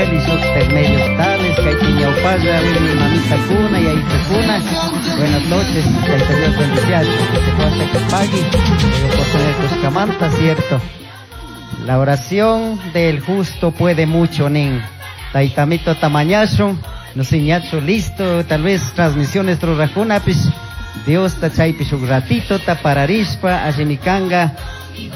Emanuel y shuktak medios tales kaypi ñawpalla mamitakuna yayitukuna. Buenas noches, Tayta Dios bendiciachun. Pagui, oportunidad kushkamanta, cierto. La oración del justo puede mucho, nin. Taytamito tamañashun, no ñachu listo, tal vez transmisiones rurakunapish, Diosta chaypi shuk ratito ta pararishpa, allimi kanga,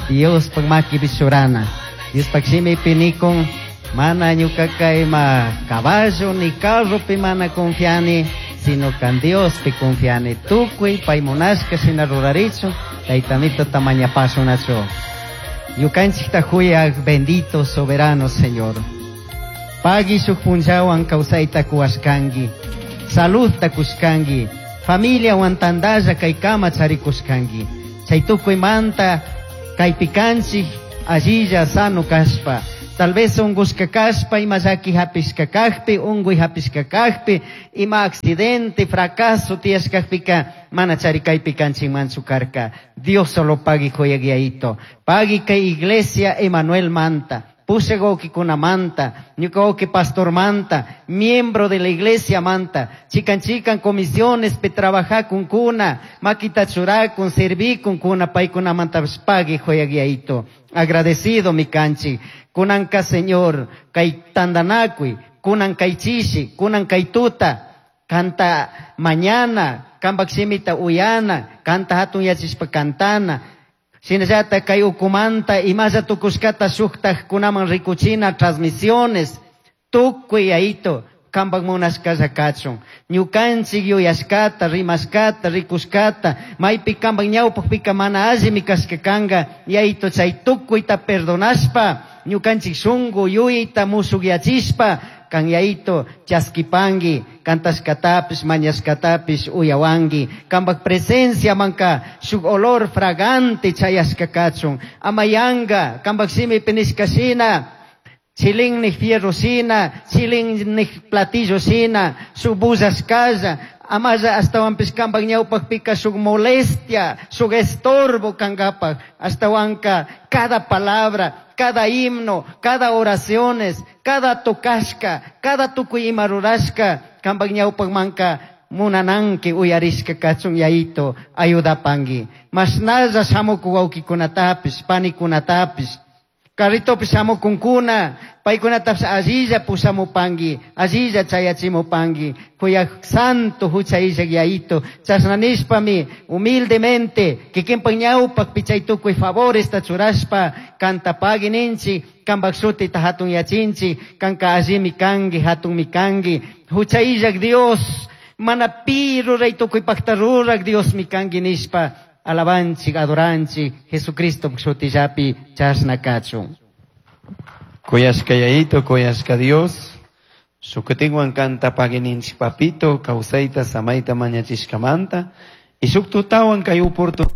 Diospak makipi churana. Diospak shimipi nikun, mana ñukaka ima caballo ni carropi mana confiani, sino kan Diospi confiani. Tukuy pay munashka shina rurarichun, Taytamito tamañapashunachu. Ñukanchikta huyak bendito soberano Señor. Pagui shuk punllawan kawsayta kuwashkanki, saludta kushkanki, familiawan tantalla kaykama charikushkanki. Chay tukuymanta kaypi kanchik allilla sano kashpa. Tal vez ungushka kashpa, ima llaki hapishka kakpi, unguy hapishka kakpi, ima accidente, fracaso tiyashkakpika, mana chari kaypi kanchikmanchu karka. Dios solo pagui huyak Yayito. Pagui kay iglesia Emanuel manta, pushak manta, ñuka wawki pastor manta, miembro de la iglesia manta, chikan chikan comisiones pi trabajakunkuna, makita churakun, servikun paykunamantapish pagui huyak Yayito. Agradecido mi kanchik. Kunanka Señor, kay tantanakuy, kunan kay chishi, kunan kay tuta, kanta mañana, kanpak shimita uyana, kanta hatun yachishpa cantana, shinallata kay ukumanta imalla tukushkata shuktajkunaman rikuchina transmisiones, tukuy Yayito, kanpak munashkalla kachun. Ñukanchik yuyashkata, rimashkata, rikushkata, maypi kanpak ñawpakpika mana allimi kashka kanka, Yayito chay tukuyta perdonashpa, ñukanchik shunku yuyayta mushukyachishpa, kan Yayito chaskipanki, kantashkatapish, mañashkatapish uyawanki, kanpak presencia manka shuk olor fragante chayashka kachun, ama yanka, kanpak shimipi nishka shina, chilinnik fierro shina, chilinnik platillo shina, shuk bullashkalla, amalla ashtawanpish kanpak ñawpakpika shuk molestia, shuk estorbo kankapak, ashtawanka cada palabra, cada himno, cada oraciones, cada tocashka, cada tukuy ima rurashka, kanpak ñawpakmanka munananki uyarishka kachun Yayito, ayudapanki. Mashnalla shamukuk wawkikunatapish, panikunatapish, carritopish shamukunkuna, paykunatapish allilla pushamupanki, allilla chayachimupanki, kuyak santo hucha illak Yayito, chashna nishpami humildemente kikinpak ñawpakpi chay tukuy favoresta churashpa kanta pagui ninchik, kanpak shutita hatun yachinchik, kanka allimi kanki, hatunmi kanki, hucha illak Dios, mana pi ruray tukuypakta rurak Diosmi kanki nishpa, alabanchik, adoranchik, Jesucristo shutillapi chashna kachun. Kuyashka Yayito, kuyashka Dios, shukutinwan kanta pagininchik papito, kawsayta, samayta mañachishkamanta, y shuk tutawan kay oportunidad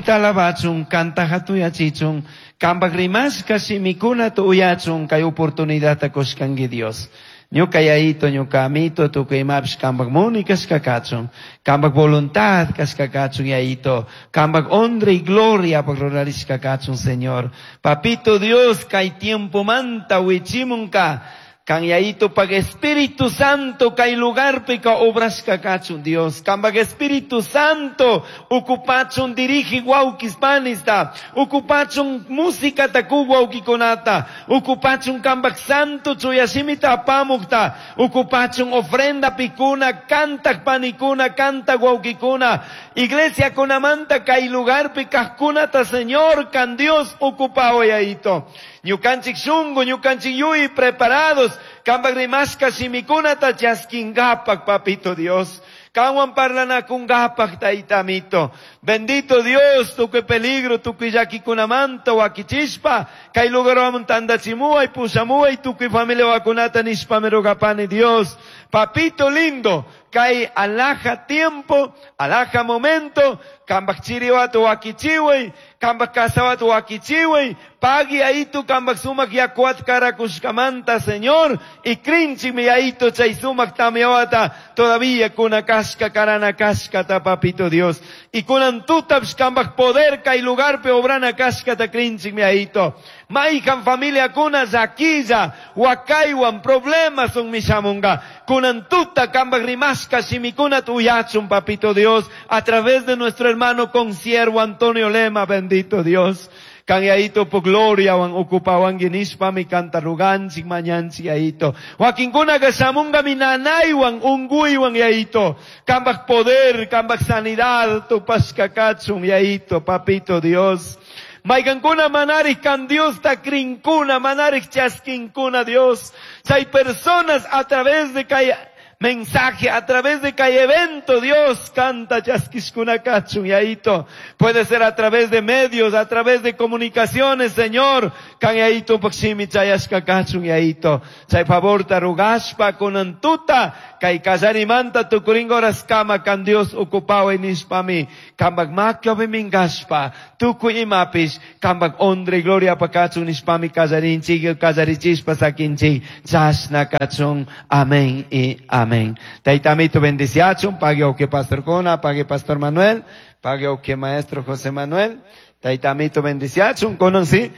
alabachun, kanta hatuyachichun, kanpak rimashka shimikunata uyachun, kay oportunidadta kushkanki Dios. Ñuka Yayito, ñuka amito, tukuy imapish kanpak muni kashka kachun, kanpak voluntad kashka kachun Yayito, kanpak honra y gloria pak rurarishka kachun Señor. Papito Dios, kay tiempo manta wichimunka, kan Yayito pak Espíritu Santo kay lugarpika obrashka kachun Dios. Kanpak Espíritu Santo ukupachun dirigi wawkis panista, ukupachun música taku wawkikunata, ukupachun kanpak Santo chuyashimita apamukta, ukupachun ofrenda pikuna, kantak panikuna, kantak wawkikuna, iglesia kunamanta kay lugarpi kajkunata Señor, kan Dios ukupao Yayito. Ñukanchik shunku, ñukanchik yuy preparados, kanpak rimashka shimikunata chaskingapak, papito Dios. Kanwan parlanakungapak, taytamito. Bendito Dios, tukuy peligro, tukuy llakikunamanta wakichishpa, kay lugarwan tandachimuay, pushamuay, tukuy familia wakunata nishpa rogapani Dios. Papito lindo, kay alhaja tiempo, alhaja momento, kanpak chiriwata wakichiway, kanpak kasawata wakichiway, pagui ayito kanpak sumak yakuat karakushkamanta, Señor, y krinchikmi ayito chay sumak tamyawata, todavía kuna kashka karana kashkata, papito Dios. Y kunan Kunan tutapish kambaj poder kay lugarpi obrana kashkata krinchikmi Yayito. Mayhan familiakuna llaquilla, wakaywan, problemas shamunga. Kunan tuta kambaj rimashka shimikunata uyachun, papito Dios, a través de nuestro hermano consiervo Antonio Lema, bendito Dios. Kan Yayito po gloria wan ocupawanki nishpami kanta ruganchik mañanchik Yayito. Wakinkunaka shamunga mi nanaywan unguywan Yayito. Kambaj poder, kambaj sanidad tupashka kachun Yayito, papito Dios. Maykankuna manarik kan Dios ta krinkuna, manarik chaskinkuna Dios. Hay personas a través de kay mensaje, a través de kay evento, Dios canta chaskiskuna kachun Yayito. Puede ser a través de medios, a través de comunicaciones, Señor. Kan Yayito pakshimi chayashka kachun Yayito. Chay favor ta rugashpa kunan tuta kay kallarimanta tukuringa horas kama kan Dios ocupado nishpami. Kambak makyo mingashpa tukuy imapish kambak honra y gloria pakachun nishpami kallarinchik kallarichispa sakinchik chashna kachun. Amén y amén. Taitamito bendiciachun, pague o que pastor Cona, pague pastor Manuel, pague o que maestro José Manuel. Taitamito bendiciachun, conon sí.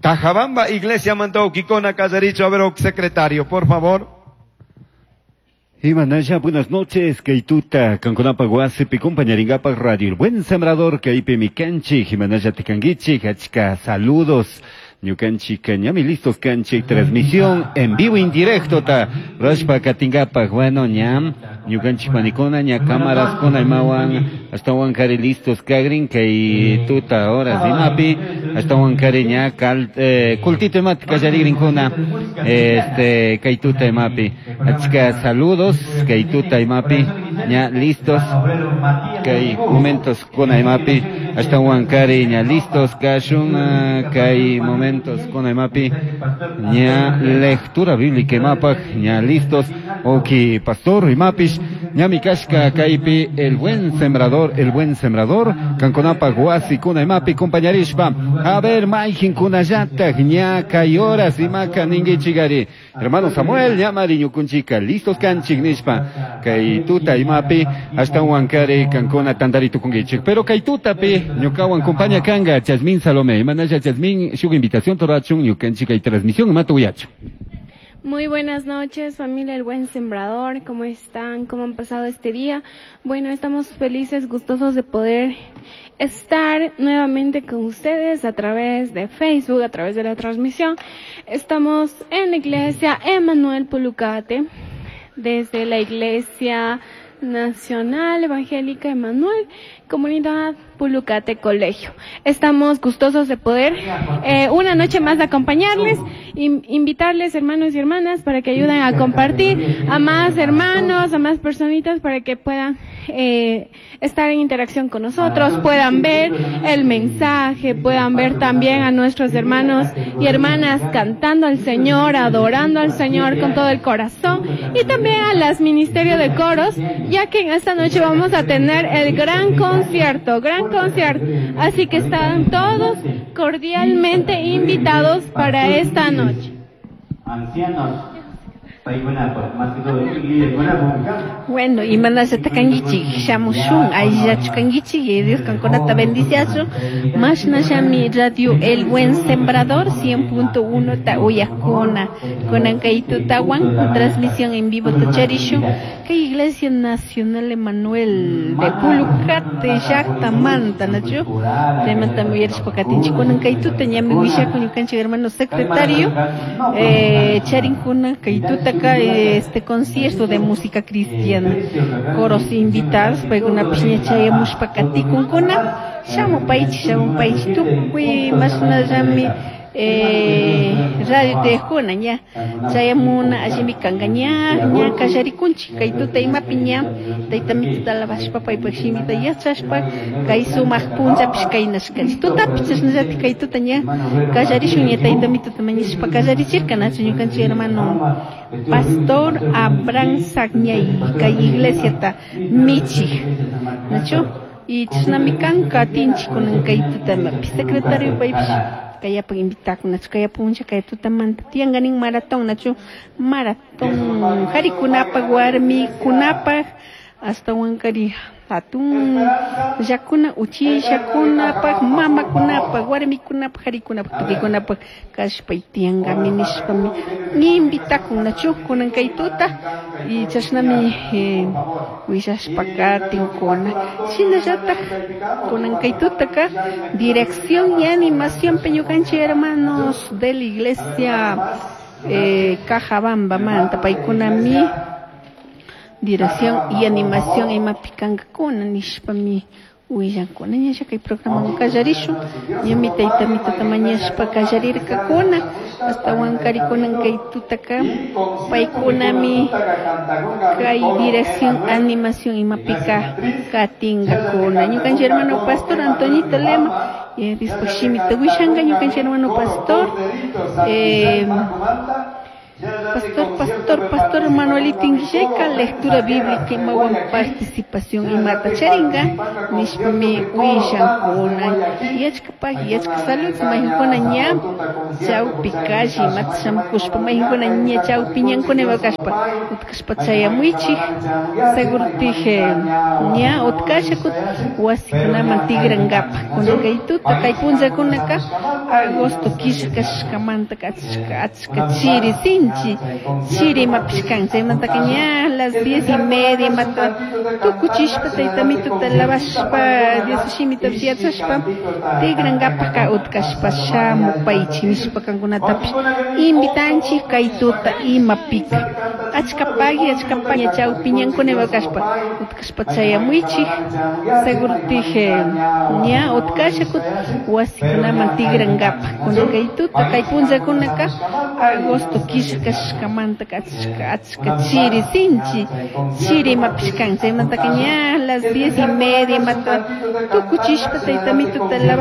Cajabamba, iglesia mandó Kikona Kallaricho, a ver, secretario, por favor. Imanasha, buenas noches, Kaituta, Kankunapa Guasipi, compañeringapa Radio, el buen sembrador, Kaipe Mikanchi, Jimanaya Tikanguichi, Hachka, saludos. Ñukanchik ñami listos kanchik transmisión en vivo indirecto ta rashpa katingapa bueno ñam ñukanchik panikuna ña cámaras kuna imawan hasta kari listos kagrin kay tuta horas imapi hasta kari ña kal kultito imat kallarigrinkuna este kay tuta imapi achka saludos kay tuta imapi ña listos kay momentos kuna imapi hasta kari ña listos kashun kay momentos con imapi ña lectura bíblica imapaj ña listos oki pastor imapish ña mi kashka kaypi el buen sembrador kankunapa wasi kuna imapi compañarishpa a ver mayjin kunallataj ña kay horas imaka ninguichigari hermano Samuel ña mari ñukunchika listos kanchik nishpa kay tuta imapi hasta wankari kankuna tantari tukunkichik pero kay tutapi ñukawan compaña kanga Chasmín Salomé imanalla Chasmín shuk invitación torachun ñukanchik kay transmisión imata uyachu. Muy buenas noches, familia El Buen Sembrador. ¿Cómo están? ¿Cómo han pasado este día? Bueno, estamos felices, gustosos de poder estar nuevamente con ustedes a través de Facebook, a través de la transmisión. Estamos en la iglesia Emanuel Pulucate, desde la iglesia Nacional Evangélica Emanuel, Comunidad Pulucate Colegio. Estamos gustosos de poder una noche más acompañarles, invitarles hermanos y hermanas para que ayuden a compartir a más hermanos, a más personitas para que puedan estar en interacción con nosotros, puedan ver el mensaje, puedan ver también a nuestros hermanos y hermanas cantando al Señor, adorando al Señor con todo el corazón, y también a las Ministerio de Coros, ya que en esta noche vamos a tener el gran concierto. Así que están todos cordialmente invitados para esta noche. Ancianos. Bueno, imanasha takankichik shamushun ayllachu kankichik y Dios kankunata bendiciachun mashnashami Radio El Buen Sembrador 100.1 ta uyakuna kunan kay tutawan transmisión en vivo tacharishun kay Iglesia Nacional Emanuel de Pulucate llaqtamanta nachu chaymanta uyarishpa katinchik kunan kay tuta ñami willakun ñukanchik hermano secretario charinkuna kay tuta este concierto de música cristiana coros invitados paykunapish ña chayamushpa katikunkuna shamupaychik tukuy mashnallami radio tejuna ña chayamuna allimi kanka ña ña kallarikunchik kay tuta imapi ña tayta mituta alabashpa paypak shimita yachashpa kay sumaq punllapish kaynashkanchik tutapish chashnallatik kay tuta ña kallarishun ña tayta mituta mañashpa kallarichirka nachu ñukanchik hermano Pastor Abraham Sagñay kay iglesiata michik nachu y chashnami kanka atinchik kunan kay tuta imapi secretario paypish kayapaq invitakunachu kay puncha kay tutamanta tiyankanin maratón nachu maratón qharikunapaq warmikunapaq Ashtawankari hatun llakuna uchishakunapaq mamakunapaq warmikunapaq qharikunapaq tukuykunapaq kashpay tiyankami nishpami invitakunnachu kunan kay tuta y chashnami willashpa katinkuna shinallatak kunan kay tutaka dirección y animación ñukanchik hermanos de la iglesia Cajabamba manta paykunami dirección y animación imapi kankakuna nishpami willankuna ñalla kay programa kallarishun ñami tayta mitata mañashpa kallarirkakuna ashtawankari kunan kay tutaka paykunami kay dirección animación imapika katinkakuna ñukanchik hermano pastor Antoñito Lema Diospaq shimita willanka ñukanchik hermano pastor Pastor Manuelito Inguilleca, lectura bíblica imawan participación imata charinga, nishpami willankuna, yachkapaq yachka salud, mayqankuna ña chawpi calle imata shamukushpa, mayqankuna ña chawpi ñankuna ima kashpa, utkashpa chayamuychik, seguro tije ña utkasha wasikunaman tigrankapaq, kunan kay tuta kay punllakunaka agosto killa kashkamanta achka chiri sinchi chiri imapish kan chaymantaka ña las 10:30 imata tukuchishpa tayta mituta lavashpa Dios shimitapish yachashpa tigrankapaka utkashpa shamupaychik nishpa kankunatapish invitanchik kay tuta imapika achka pagui achka paña chawpi ñankuna ima kashpa utkashpa chayamuychik seguro tije ña utkasha wasikunaman tigrankapaq kunan kay tuta kay punllakunaka agosto killa kashkamanta achka chiri sinchi chiri imapish kan chaymantaka ña las 10:30 imata tukuchishpa tayta mituta lavashpa.